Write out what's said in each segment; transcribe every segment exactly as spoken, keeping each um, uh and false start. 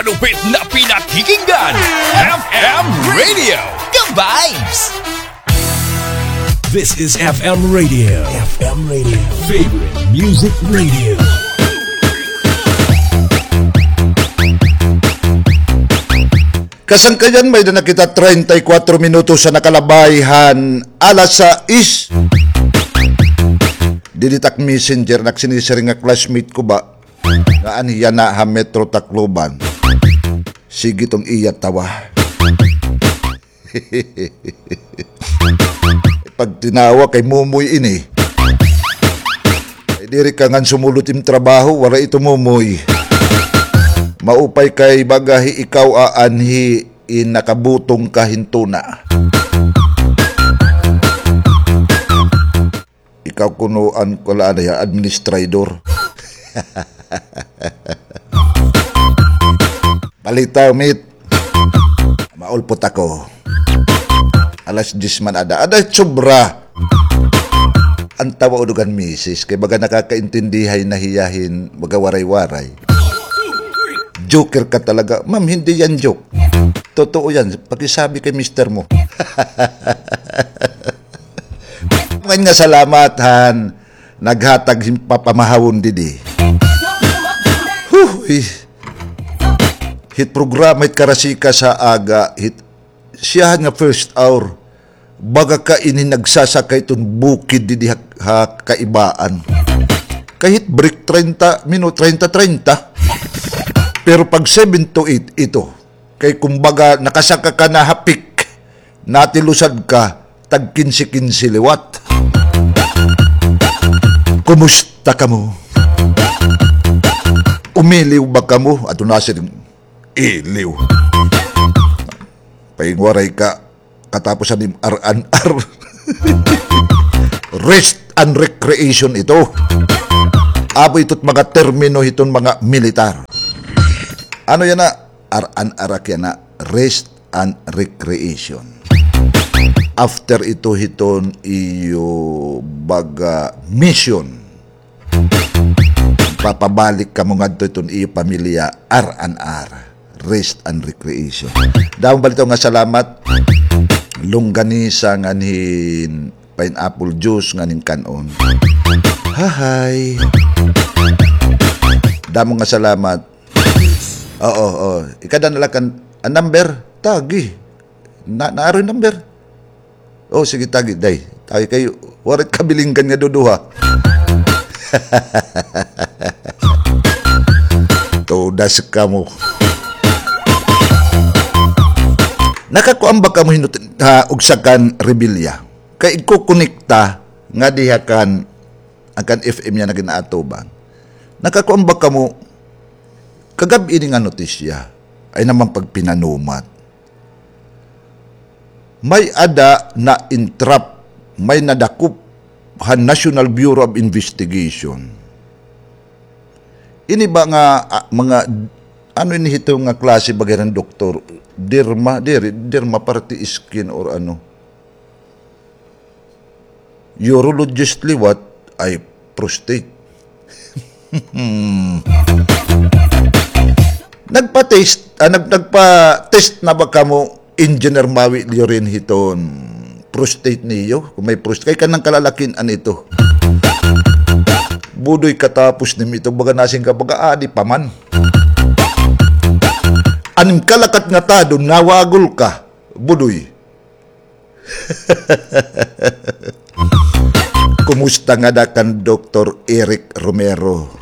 Malupit na pinakikinggan, F M Radio, ka-vibes! This is F M Radio. F M Radio. Favorite Music Radio. Kasangkayan, may-ada na kita treinta y cuatro minutos an nakalabay han alas sais. Didi tak messenger, nagsinisiring nga classmate ko ba? Nga anhi yana ha Metro Tacloban. Sige tong iya tawa. Pagtinawa kay Mumoy ini. Ay, diri ka ngan sumulot im trabaho, waray ito, Mumoy. Maupay kay baga hi ikaw aanhi in nakabutong ka hin tuna. Ikaw kuno an kuan la anay, administrador. Balita, mit. Maulpot ako. Alas diyes man ada. Ada sobra. An tawa udog han misis. Kay baga nakakaintindihay na hiya hin baga waray-waray. Joker ka talaga. Ma'am, hindi yan joke. Totoo yan. Pakisabi kay mister mo. Ngan nga salamat han naghatag hin papamahawon didi. Huh, eh. Hit programa hit karasikas ha aga, hit siyahan nga first hour. Baga ka ini nagsasaka hiton bukid didi ha, ha kaibaan. Kay hit break treinta minu-, treinta, treinta. Pero pag seven to eight, ito. Kay kumbaga, nakasaka ka na ha peak, natilusad ka, tag kinse-kinse liwat. Kumusta kamo? Umiliw ba kamo? Adto nasiring, iliw. Paingwaray ka, katapos han im R and R. Rest and recreation ito. Amo ito't mga termino hiton mga militar. Ano yana? R and R ak yana, rest and recreation. After ito hiton iyo baga mission, papabalik kamo ngadto hiton iyo pamilya, R and R, rest and recreation. Damo bala ito nga salamat. Longganisa ngan hin pineapple juice ngan hin kan-on. Hahay. Damo nga salamat. Oo, oo. Ikada na la kan, an number, tagi. Na, naaro hin number. Oh, sige, tagi, day. Tagi kay, waray kabilinggan nga duduha. Todas kamo. Nakakuan ba kamo hin, ha, ugsa kan rebelya? Kay igkukonekta nga diha kan, an kan F M yana nga gin-aatubang. Nakakuan ba kamo, kagab-i ini nga notisya, ay naman pagpinanumat. May-ada na-entrap, may nadakop han National Bureau of Investigation. Ini ba nga, ah, mga, ano ini hito nga klase baga hiran doktor? Derma, diri, derma parte skin or ano. Urologist liwat ay prostate. Nagpa-test, ah, nag-, nagpa-test na ba kamo, Engineer Mawi Llorin, hiton prostate niyo? Kon may prostate, kay kanan kalalakin-an ito. Budoy, katapos nim ito, baga nasiring ka, baga adi pa man. An im kalakat nga tadon, nawagol ka, Budoy. Kumusta ngada kan Doktor Eric Romero?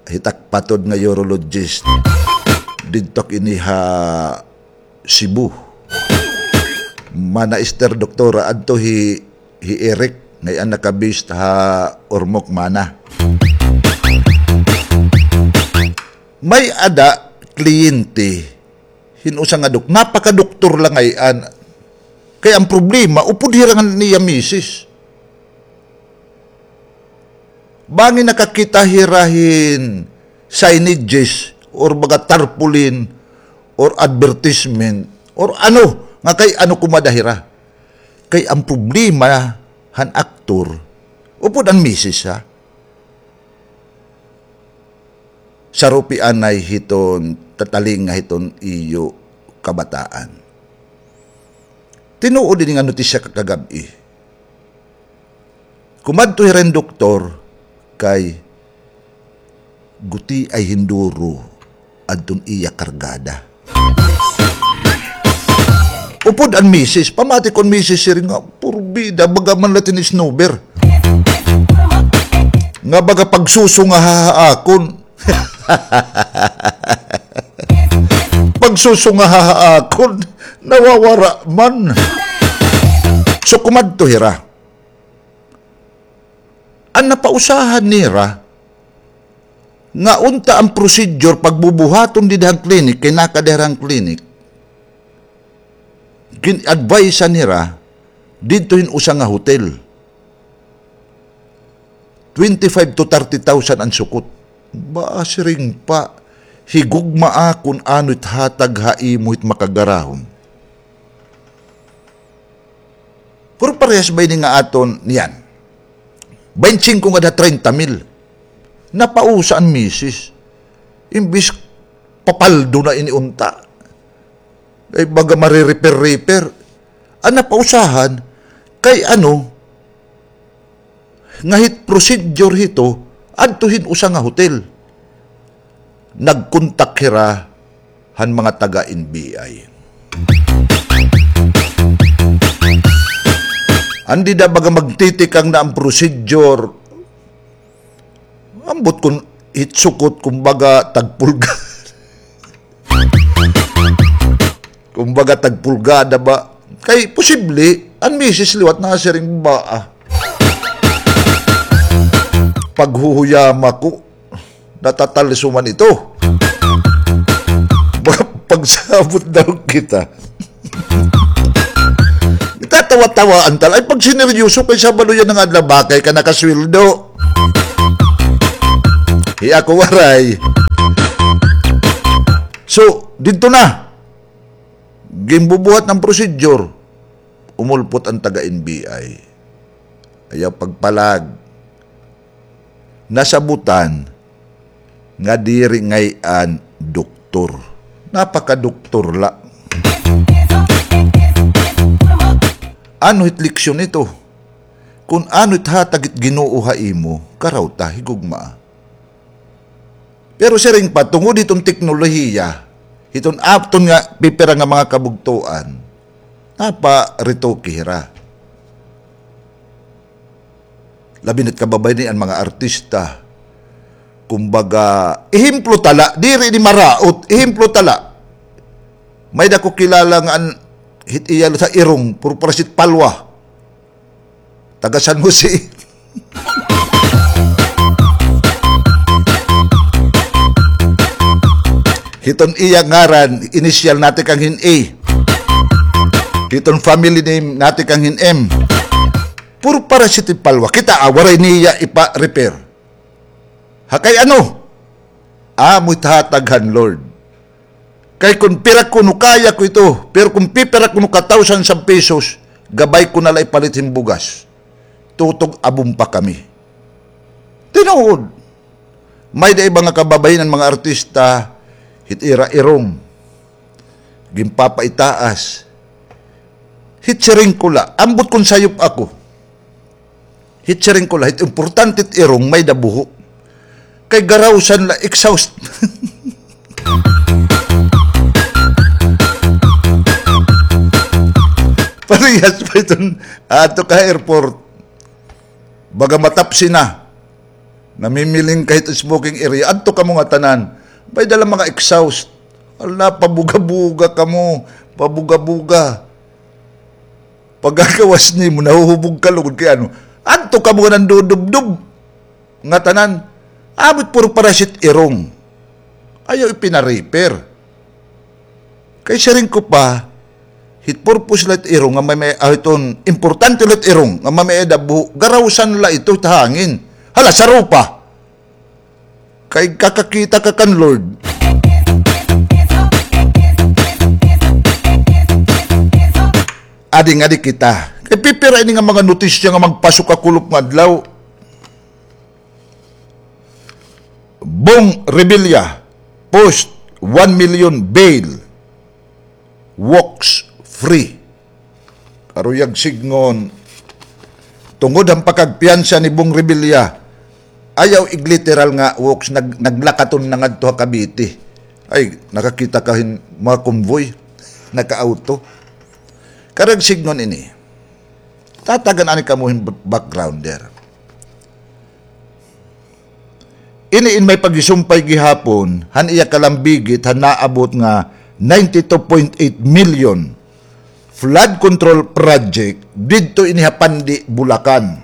Hit ak patod nga urologist. Didto ak ini ha Cebu. Mana Ester, doktora, adto hi, hi Eric, ngay-an naka-base ha Ormoc, mana. May-ada kliyente hin usa nga dok-, napakadoktor la ngay-an. Kay an problema, upod hira ngan iya misis. Bangin nakakita hira hin signages or baga tarpaulin or advertisement or ano, nga kay ano kumada hira. Kay an problema han aktor, upod an misis, ha? sarupi anay hiton tatalinga hiton iyo kabataan. Tinuod ini nga notisya kakagab-i. Kumadto hira hin doktor kay gutiay hin duro adton iya kargada. Upod an misis, pamati ko an misis, siring nga, "Purbida, baga man la tin snuber. Nga baga pagsusunga ha akon." Pagsusunga ha akon, nawawara man. So, kumadto hira. An napausahan nira, nga unta an procedure pagbubuhaton dida han clinic, kay nakada hira han clinic, gin-advise-an hira didto hin usa nga hotel. Twenty-five to thirty thousand an sukot. Ba, siring pa, higugmaa kon ano it hatag ha imo hit makagarahon. Pero parehas ba ini nga aton niyan? Baynte singko ngada ha treinta mil. Napausa an misis. Imbis papaldo na ini unta. Ay, baga marirepair-repair. An napausahan, kay ano, nga hit procedure hito, adto hin usa nga hotel. Nagkontak hira han mga taga N B I. An dida baga magtitikang na an procedure, ambot kon hit sukot, kumbaga, tagpulga. Kumbaga, tagpulgada ba? Kay posible, an misis liwat nasiring ba, ah. Paghuhuyama ko, natatalso man ito. Baka pagsabot daw kita. Itatawa-tawaan tal-, ay, pagsineryoso kay Sabado yana nga adlaw, bakay ka nakasweldo. Hi ako waray. So, didto na. Ginbubuhat an procedure. Umulpot an taga N B I. Ayaw pagpalag. Nasabutan nga diri ngay-an doktor. Napakadoktor la. Ano hit leksyon ito? Kun ano it hatag hit Ginoo ha imo, karaw ta, higugma. Pero siring pa, tungod hiton teknolohiya, hiton aton nga pipira nga mga kabugtoan, naparetoke hira. Labi na't kababayin an mga artista. Kumbaga, ehemplo ta la, diri ini maraot, ehemplo ta la. May-ada ko kilala nga an hit iya sa irong, puro parsit palwa. Taga San Jose. Hiton iya ngaran, initial natikang hin A. Hiton family name natikang hin M. Puro parsit it palwa. Kita, ah, waray niya ipa-repair. Ha kay ano? Amo it hatag han Lord. Kay kun pira kuno kaya ko ito, pero kun pipira kuno ka thousand sa pesos, gabay ko na la ipalit hin bugas. Tutog abon pa kami. Tinuod. May-ada iba nga kababayin an mga artista, hit ira irong. Ginpapaitaas. Hit siring ko la, ambot kun sayop ako. Hit siring ko la, hit importante it irong may-ada buho. Kay garawsan la exhaust. Parehas pa iton, adto ka airport. Baga matapsi na. Namimiling ka hit smoking area. Adto kamo ngatanan. May-ada la mga exhaust. Hala, pabuga-buga kamo. Pabuga-buga. Pagkagawas nimo, nahuhubog ka lugod kay ano. Adto kamo nga nandudubdob. Ngatanan, amo it puro parsit irong. Ayaw ipina-repair. Kay siring ko pa, hit purpose la it irong nga may, may, ah, hiton importante la it irong nga may, may-ada buho, garawsan la ito hit hangin. Hala, sarupa. Kay kakakita ka kan Lord. Adi nga di kita. Kay pipira ini nga mga notisya nga magpasok ha kulop nga adlaw. Bong Revilla, post one million bail, walks free. Karuyag sidngon, tungod han pakagpiyansa ni Bong Revilla, ayaw igliteral nga walks, nag-, naglakaton na ngadto ha Cavite. Ay, nakakita ka hin mga convoy, naka-auto. Karuyag sidngon ini. Tatagan ani kamo hin b-, backgrounder. Ini in may paghisumpay gihapon han iya kalambigit han naabot nga ninety-two point eight million flood control project didto ini ha Pandi, Bulacan.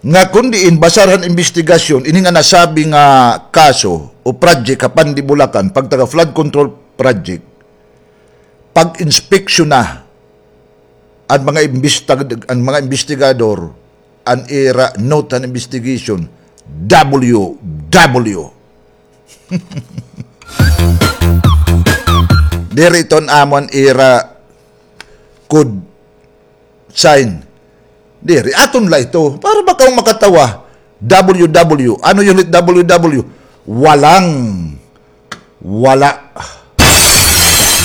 Nga kon diin basar han imbestigasyon, ini nga nasabi nga kaso o project ha Pandi, Bulacan, pagtaga flood control project, pag-inspeksyon na an mga imbestag-, an mga imbestigador, an ira note han investigation, W W. Diri iton amon ira code sign. Diri, aton la ito. Para ba kaw makatawa? W W. Ano yun ulit W W? Walang Wala.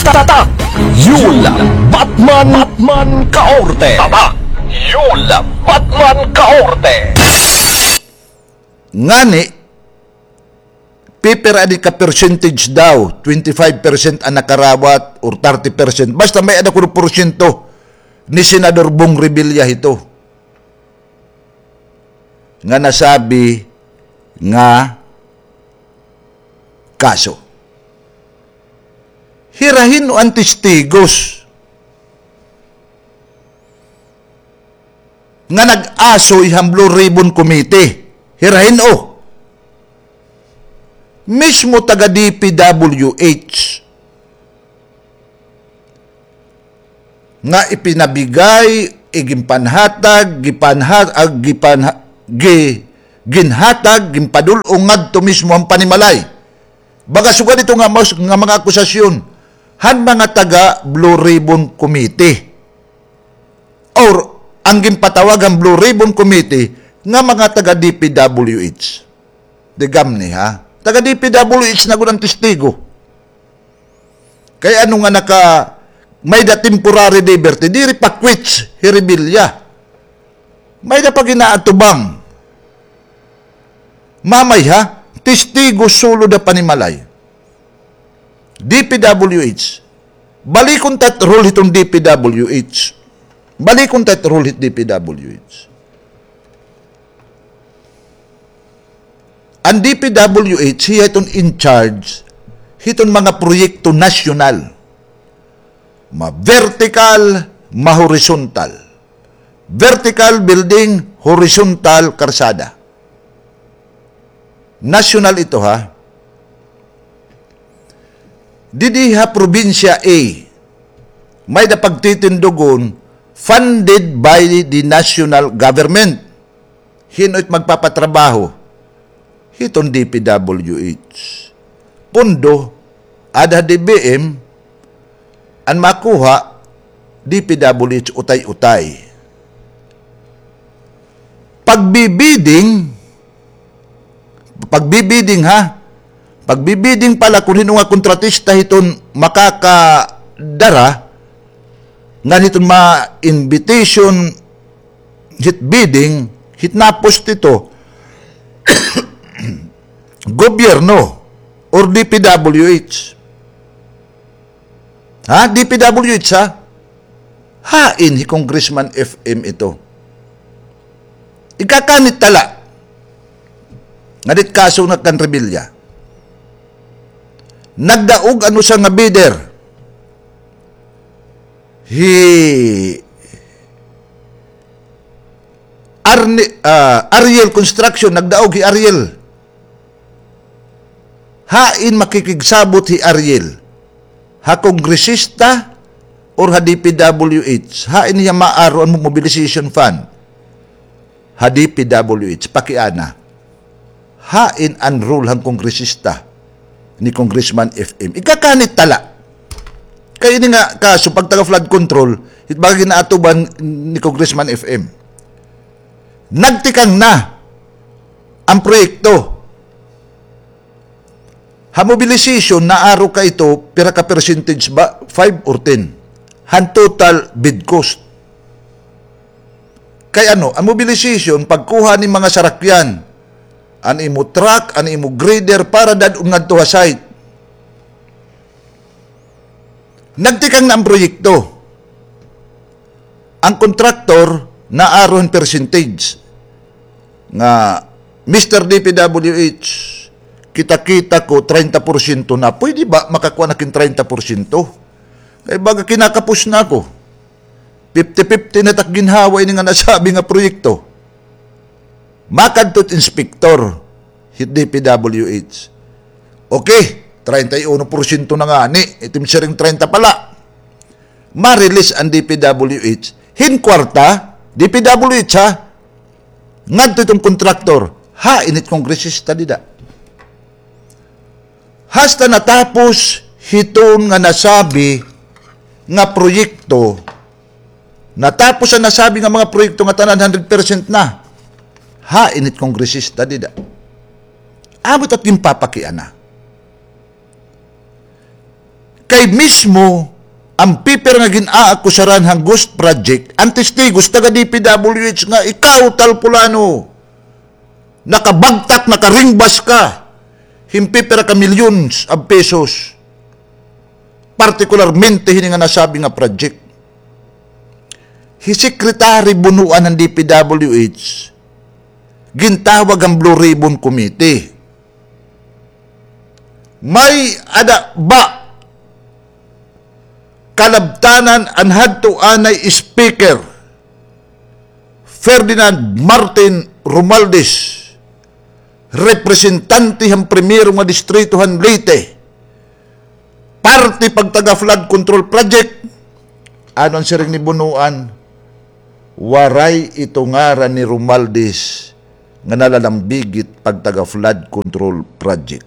Tatak Yul Batman, Batman Kaorte. Tatak Yul Batman Kaorte. Ngani, pipira di ka percentage daw, twenty-five percent an nakarawat or thirty percent. Basta may-ada kuno porsyento ni Senador Bong Revilla hito nga nasabi nga kaso. Hira hin-o an testigos nga nag-asoy han Blue Ribbon Committee? Hira hin-o? Mismo taga D P W H. Nga ipinabigay, iginpanhatag, gipanha-, ah, gipanha-, gi-, ginhatag, ginpadul-ong ngadto mismo han panimalay. Baga sugad ito nga mas-, nga mga akusasyon han mga taga Blue Ribbon Committee. Or ang ginpatawag han Blue Ribbon Committee nga mga taga D P W H. Di gamni, ha? Taga D P W H na gud an testigo. Kay ano nga naka, may-ada temporary liberty, diri pa quits hi Revilla. May-ada pa ginaatubang. Mamay, ha? Testigo sulod ha panimalay. D P W H. Balikon ta it rule hiton D P W H. Balikon ta it rule hit D P W H. An D P W H, hiya iton in charge hiton mga proyekto nasyonal. Ma-vertical, ma-horizontal. Vertical building, horizontal karsada. Nasyonal ito, ha. Didi ha probinsya A, may-ada pagtitindugon, funded by the national government. Hin-o it magpapatrabaho? Hiton D P W H. Pondo, ada ha D B M, an makuha, D P W H utay-utay. Pagbibidding, pagbibidding, ha? Pagbibidding pala kon hin-o nga kontratista hiton makakadara, ngan hiton ma-invitation, hit bidding, hit na-post ito, gobyerno or D P W H. Ha? D P W H, ha? Hain hi Congressman F M ito? Ikakanit ta la. Ngadit kaso nga kan Revilla. Nagdaog an usa nga bidder. Hi Arne-, ah, Ariel Construction, nagdaog hi Ariel. Hain makikigsabot hi Ariel? Ha kongresista or ha D P W H? Hain hiya maaro an mobilization fund? Ha D P W H, pakiana. Hain an role han kongresista ni Congressman F M? Ikakanit ta la. Kay ini nga kaso, pagtaga flood control, it baga ginaatuban ni Congressman F M. Nagtikang na. an proyekto. Ha mobilization, naaro ka ito, pira ka percentage ba? Five or ten? Han total bid cost. Kay ano, an mobilization, pagkuha ni mga sarakyan, an imo truck, an imo grader, para dad-on ngadto ha site. Nagtikang na an proyekto. An kontraktor, naaro hin percentage nga, "Mister D P W H, kita-kita ko, treinta porsyento na. Pwede ba makakuha na ak hin treinta porsyento? Kay baga kinakapos na ako. Fifty fifty na tak ginhawa ini nga nasabi nga proyekto." Makadto it inspektor hit D P W H. "Okay, treinta y uno porsyento na ngani, it im siring treinta pa la." Ma-release an D P W H hin kwarta, D P W H ha, ngadto iton kontraktor. Hain it kongresista dida? Hasta natapos hiton nga nasabi nga proyekto, natapos an nasabi nga mga proyekto nga tanan hundred percent na. Hain it kongresista dida? Amo it at ginpapakiana. Kay mismo an pipira nga gin-aakusaran han ghost project, an testigos taga D P W H nga ikaw, tal pulano, nakabagtak, nakaringbas ka hin pipira ka millions of pesos, partikularmente hini nga nasabi nga project. Hi Secretary Bonoan han D P W H, gintawag han Blue Ribbon Committee. May-ada ba kalabtanan an hadto anay Speaker Ferdinand Martin Romualdez, representante han primero nga distrito han Leyte, parte pagtaga flood control project? Ano an siring ni Bonoan? Waray ito ngaran ni Romualdez nga nalalambigit pagtaga flood control project.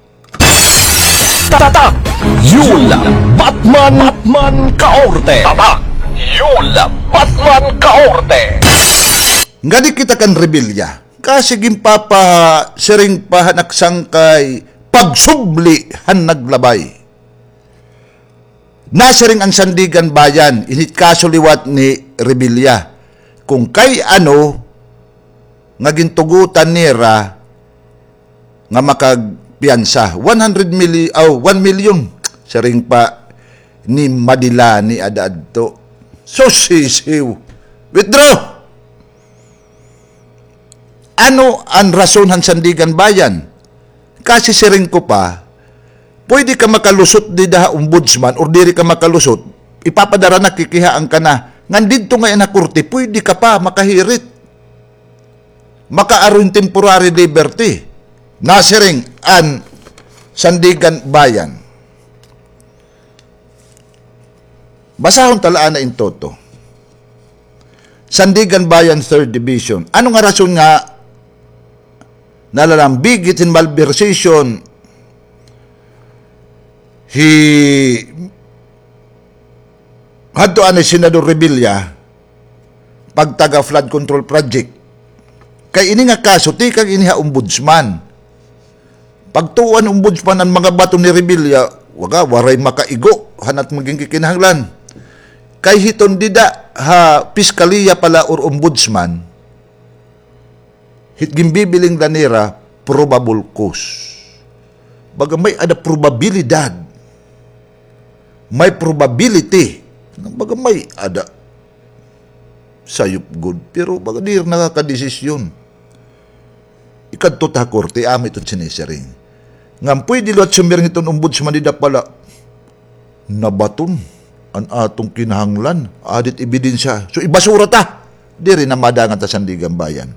Tatak Yul Batman, Batman Kaorte. Tatak Yul Batman Kaorte. Ngadi kita kan Revilla. Kasi ginpapasiring pa han ak sangkay pagsubli han naglabay. Nasiring an Sandiganbayan, ini it kaso liwat ni Revilla, kon kay ano nga gintugotan nira nga makagpiyansa. One hundred milli-, aw, one million. Siring pa ni Madilani ada adto. Sus, sisiw. Withdraw! Ano an rason han Sandiganbayan? Kasi siring ko pa, pwede ka makalusot dida ha ombudsman or diri ka makalusot, ipapadara na, kikihaan ka na. Ngan didto ngay-an ha korte, pwede ka pa makahirit. Makaaro hin temporary liberty. Nasiring an Sandiganbayan. Basahon ta la anay in toto. Sandiganbayan, Third Division. Ano nga rason nga nalalambigit hin malversation hi hadto anay Senador Revilla pagtaga flood control project? Kay ini nga kaso, tikang ini ha ombudsman. Pagtuo han ombudsman an mga bato ni Revilla, waga, waray makaigo han at magin kikinahanglan. Kay hiton dida ha piskaliya pa la or ombudsman, hit ginbibiling la nira probable cause. Baga may-ada probabilidad. May probability. Baga may-ada sayop gud. Pero baga diri nakakadesisyon. Ikadto ta ha korte, amo iton sinisiring. Ngan pwede liwat sumiring iton ombudsman dida pa la, nabaton an aton kinahanglan, adi it ebidensya. So, ibasura ta. Diri na madangat ha Sandiganbayan.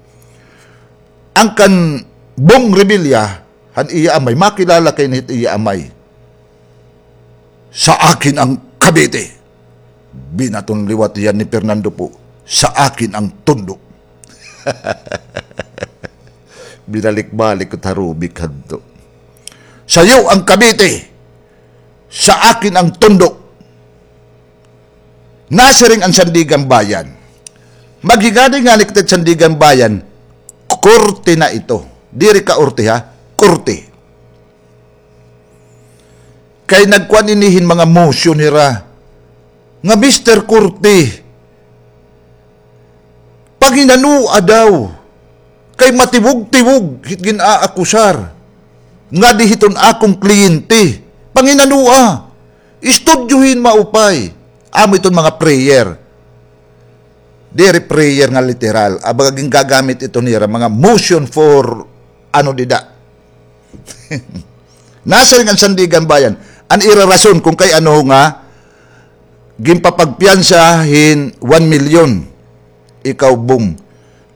An kan Bong Revilla, han iya amay, makilala kay hit iya amay. Sa akin ang Cavite. Binaton liwat iyan ni Fernando Poe. Sa akin ang Tondo. Binalik-balik ko it harubik hadto. Sa iyo ang Cavite. Sa akin ang Tondo. Nasiring an Sandiganbayan. Maghigadi ngani kita hit Sandiganbayan, korte na ito. Diri kaurti, ha? Korte. Kay nagkuan ini hin mga motion hira nga, Mister Korte, panginanoa daw kay matiwog-tiwog hit gin-aakusar ngadi hiton akon kliyente. Panginanoa, istudyohi hin maupay. Amo iton mga prayer. Diri prayer nga literal. Aba, gingagamit ito nira mga motion for ano dida. Nasiring an Sandiganbayan, an ira rason kon kay ano nga ginpapagpiyansa hin one million. Ikaw, Bong,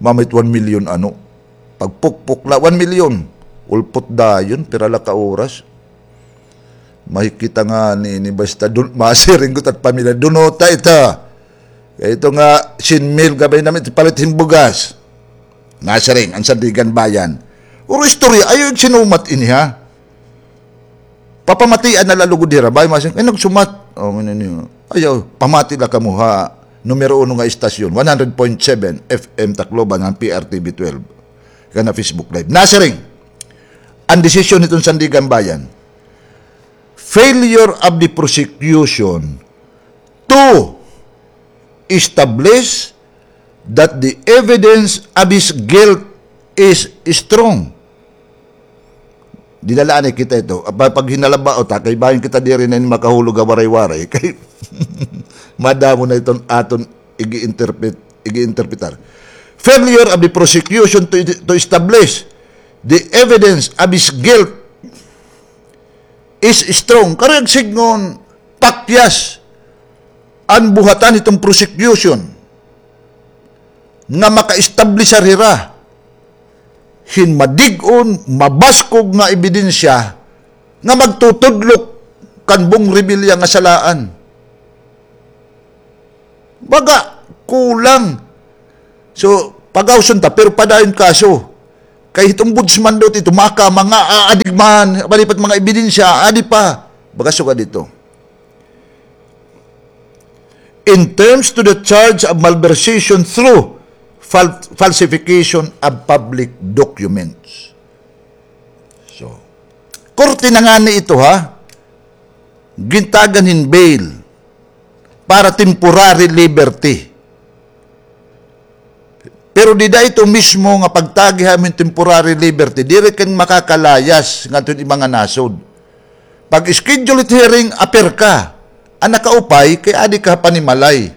mamit one million ano? Pagpukpok la, one million. Ulpot dayon, pira la ka oras. Mahikita ngani ini basta dun, masiring gud it pamilya, dunota ita. Kay ito nga, singmil, gabay namin, palit hin bugas. Nasiring an Sandiganbayan. Puro istorya, ayaw igsinumat ini, ha? Papamatian na la lugod hira, bay, masing, ay, nagsumat. O, ngano niyo? Ayaw, pamati la kamo ha numero uno nga istasyon, one hundred point seven F M Tacloban, han P R T V twelve. Kana Facebook Live. Nasiring, an desisyon hiton Sandiganbayan, failure of the prosecution to establish that the evidence of his guilt is strong. Dida la anay kita ito. Apa, pag hinalaba, o, ta, kay bahin kita diri na ini makahulog ha Waray-Waray. Kay madamo na iton aton igi-interpret, igi-interpretar. Failure of the prosecution to, to establish the evidence of his guilt is strong. Karuyag sidngon, pakyas an buhatan hiton prosecution nga maka-establish hira hin madig-on, mabaskog nga ebidensya nga magtutudlok kan Bong Revilla nga salaan. Baga, kulang. So, pagawson ta, pero padayon kaso. Kay it ombudsman daw ito, maka, mga aadig man, malipat mga ebidensya, adi pa. Baga sugad ito. In terms to the charge of malversation through fal-, falsification of public documents. So, korte na ngani ito, ha? Gintagan hin bail para temporary liberty. Pero dida ito mismo nga pagtagi ha imo hin temporary liberty, diri ka makakalayas ngadto ha imo nga nasod. Pag-schedule it hearing, apir ka. An nakaupay, kay adi ka ha panimalay.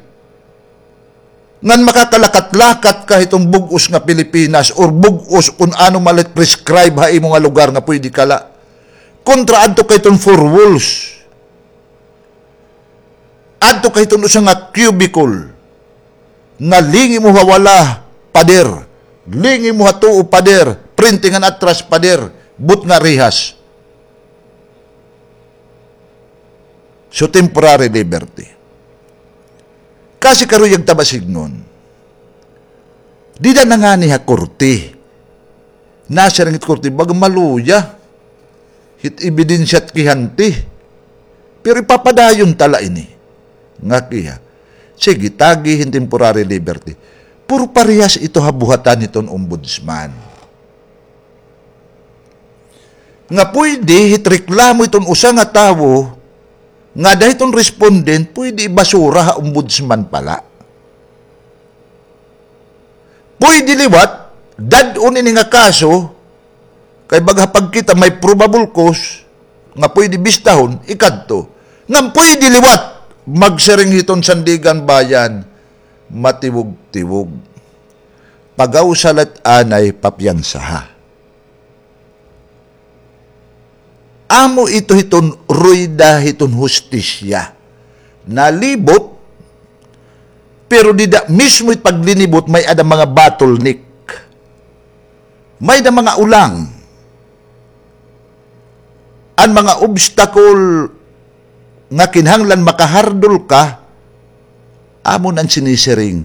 Ngan makakalakat-lakat ka hiton bug-os nga Pilipinas or bug-os kun ano man la it prescribe ha imo nga lugar nga pwede ka la. Kontra adto ka hiton four walls. Adto ka hiton usa nga cubicle nga lingi mo ha wala, pader. Lingi mo ha tuo, pader. Printing an atras, pader. But nga rihas. So, temporary liberty. Kasi karuyag ta ba sidngon, dida na ngani ha korte. Nasiring it korte, baga maluya hit ebidensya it kihante. Pero ipapadayon ta la ini. Nga kiha, sige, tagi hin temporary liberty. Pero parehas ito ha buhatan hiton ombudsman. Nga pwede hit reklamo hiton usa nga tawo, ngada hiton respondent, pwede ibasura ha ombudsman pa la. Pwede liwat, dad-on ini nga kaso, kay baga ha pagkita may probable cause, nga pwede bistahon, ikadto. Ngan pwede liwat, magsiring hiton Sandiganbayan, matiwog-tiwog. Pag-awsa la it anay, papiyansaha. Amo ito hiton ruyda hiton hustisya. Nalibot, pero dida mismo it paglinibot, may-ada mga bottleneck. May-ada mga ulang. An mga obstacle nga kinahanglan makahardol ka, amo na an sinisiring,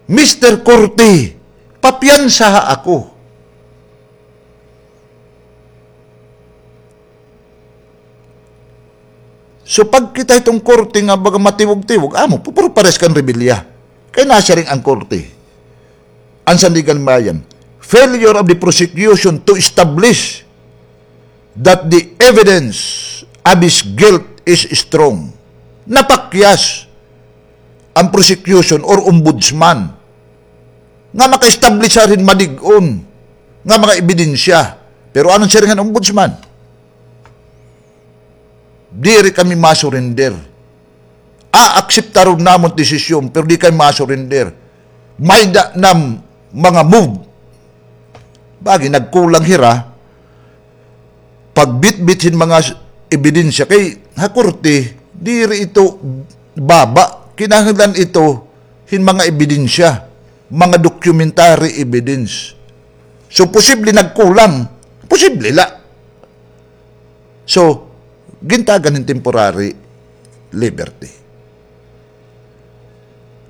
Mister Korte, papiyansaha ako. So, pagkita hiton korte nga baga matiwog-tiwog, amo, pu-, puro pares kan Revilla. Kay nasiring an korte, an Sandiganbayan, failure of the prosecution to establish that the evidence of his guilt is strong. Napakyas an prosecution or ombudsman nga maka-establish hin malig-on nga mga ebidensya. Pero ano siring han ombudsman? Diri kami ma-surrender. Aakseptaron namon desisyon, pero di kami ma-surrender. May-ada na mga move. Bagi nagkulang hira pagbitbit hin mga s-, ebidensya kay ha korte, diri ito baba. Kinahanglan ito hin mga ebidensya, mga documentary evidence. So, posible nagkulang. Posible la. So, gintagan hin temporary liberty.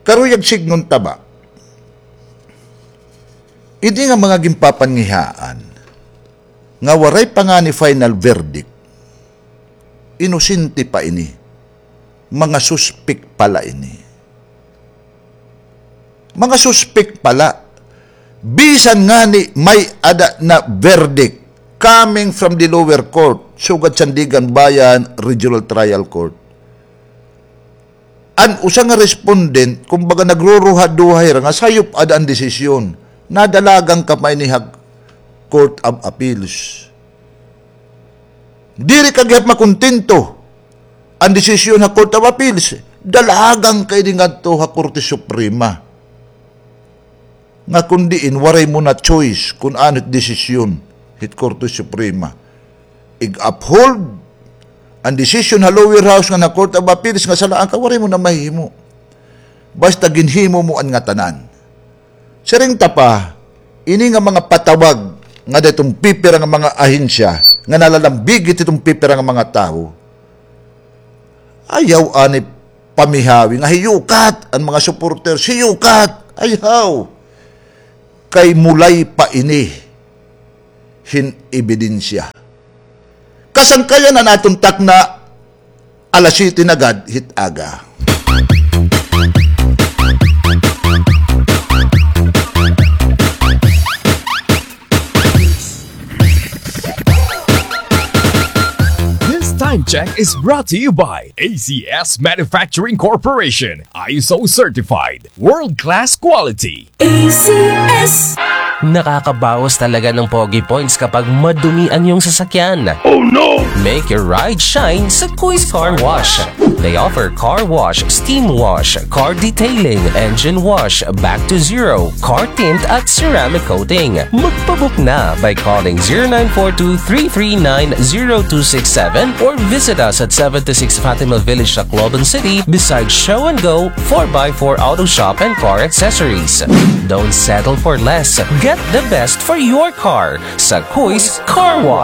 Karuyag sidngon ta ba, ini nga mga ginpapangihaan nga waray pa ngani final verdict, inosente pa ini. Mga suspek pa la ini. Mga suspek pa la. Bisan ngani may-ada na verdict coming from the lower court, sugad Sandiganbayan Regional Trial Court. An usa nga respondent, kumbaga, nagruruha-duha hira nga sayop ada an desisyon. Nadalagan ka pa ini ha Court of Appeals. Diri ka gihap makontento an desisyon ha Court of Appeals. Dalagan ka ini ngadto ha Korte Suprema. Nga kon diin, waray mo na choice kon ano it desisyon hit Korte Suprema. Ig-uphold an desisyon ha lower house ngan ha Court of Appeals nga salaan ka, waray mo na mahimo. Basta ginhimo mo an ngatanan. Siring ta pa, ini nga mga patawag nga didto ha pipira nga mga ahensya nga nalalambigit hit pipira nga mga tawo. Ayaw anay pamihawi nga hiyukat an mga supporters, hiyukat! Ayaw! Kay mulay pa ini hin ebidensya. Kasangkayan an aton takna, alas siyete na gad hit aga. This time check is brought to you by A C S Manufacturing Corporation, ISO certified, world-class quality. A C S. Nakakabawas talaga ng pogi points kapag madumi ang iyong sasakyan. Oh no! Make your ride shine sa Kuis Car Wash. They offer car wash, steam wash, car detailing, engine wash, back to zero, car tint at ceramic coating. Magpabook na by calling zero nine four two three three nine zero two six seven or visit us at seventy-six Fatima Village, Tacloban City, beside Show and Go, four by four Auto Shop and Car Accessories. Don't settle for less. Get the best for your car sa Kuis Car Wash.